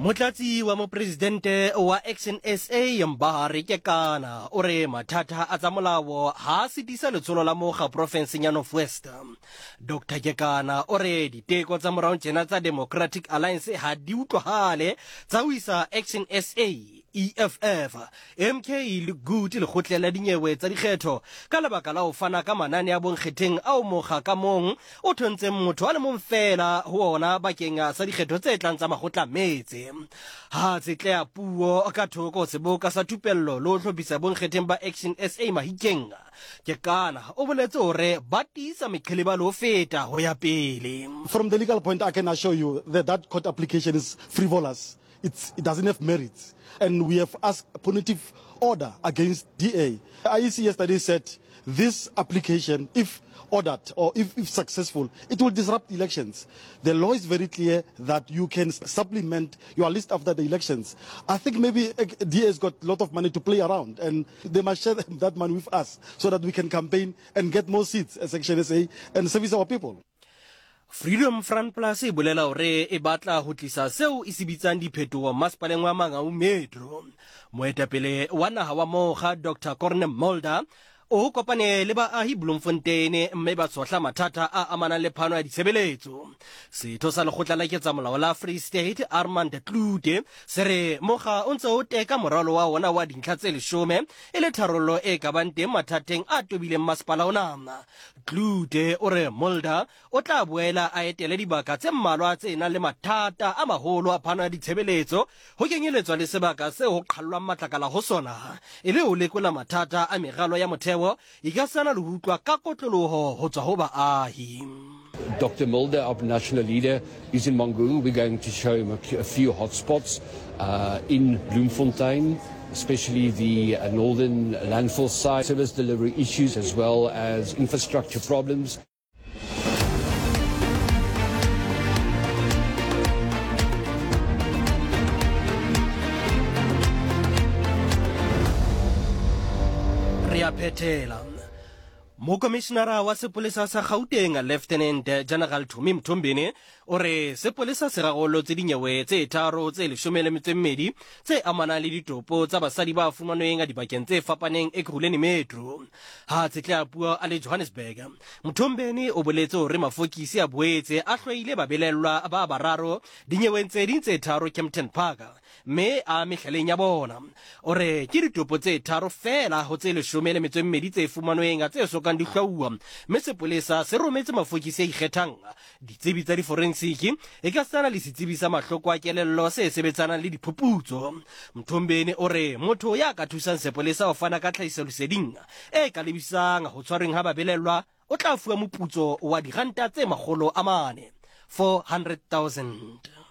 Motlatsi wa mopresidente wa Action SA Mbahare Kekana o re mathata a tsa molao ha a sitisa letsholo la mokga profenseng ya North West. Dr Kekana o re diteko tsa morao tjena tsa Democratic Alliance ha di utlwahale tsa ho isa Action SA, EFF, MK le GOOD lekgotleng la dinyewe tsa dikgetho ka lebaka la ho fana ka manane a bonkgetheng ao mokga ka mong o thontseng motho a le mong feela ho ona bakeng sa dikgetho tse tlang tsa makgotla a metse. Ha tsetleha puo ka thoko seboka sa thupello le ho hlophisa bonkgetheng ba Action SA Mahikeng, Kekana o boletse hore ba tiisa meqheleba le ho feta ho ya pele. From the legal point, I can assure you that that court application is frivolous. It's, it doesn't have merits. And we have asked a punitive order against DA. IEC yesterday said this application, if ordered or if, if successful, it will disrupt elections. The law is very clear that you can supplement your list after the elections. I think maybe eh, DA has got a lot of money to play around and they must share that money with us so that we can campaign and get more seats as Action SA and service our people. Freedom Front Plus e bolela hore e batla ho tlisa seo e se bitsang diphetoho masepaleng wa Mangaung Metro. Moetapele wa naha wa mokga Dr Corne Mulder o kopane le baahi Bloemfontein mme ba tshohla mathata a amanang le phano ya ditshebeletso. Setho sa lekgotla la ketsamolao la Free State Armand Klute se re mokga o ntse o teka moralo wa ona wa dintlha tse leshome e le tharollo e ka bang teng mathateng a tobileng masepala ona. Klute o re Mulder o tla boela a etele dibaka tse mmalwa tse nang le mathata a maholo a phano ya ditshebeletso, ho kenyeletswa le sebaka seo ho qhallwang matlakala ho sona, e le ho lekola mathata a meralo ya motheo ekasana le ho utlwa ka kotloloho ho tswa ho baahi. Doctor Mulder, our national leader, is in Mangaung. We're going to show him a few hotspots uh, in Bloemfontein, especially the uh, northern landfill site, service delivery issues, as well as infrastructure problems. Re a phethela. Mokomišenara wa sepolesa sa Gauteng, Lieutenant General Tumi Mthombeni, o re sepolesa se rarolotse dinyewe tse tharo tse leshome le metso e mmedi tse amanang le ditopo tsa basadi ba fumanweng dibakeng tse fapaneng Ekurhuleni Metro. Ha a tshetleha puo a le Johannesburg, Mthombeni o boletse hore mafokisi a boetse a hlwaile babelellwa ba bararo dinyeweng tse ding tse tharo Kempton Park. Mme a mehlaleng ya bona. O re ke ditopo tse tharo feela ho tse leshome le metso e mmedi tse fumanweng tse sokang di hlwauwa, mme sepolesa se rometse mafokisi a ikgethang, ditsebi tsa diforensiki, ekasitana le setsebi sa mahloko a kelello se sebetsanang le diphuputso. Mthombeni o re motho ya ka thusang sepolesa ho fana ka tlhahisoleseding e ka lebisang ho tshwarweng ha babelellwa o tla fuwa moputso wa diranta tse 400, 400,000.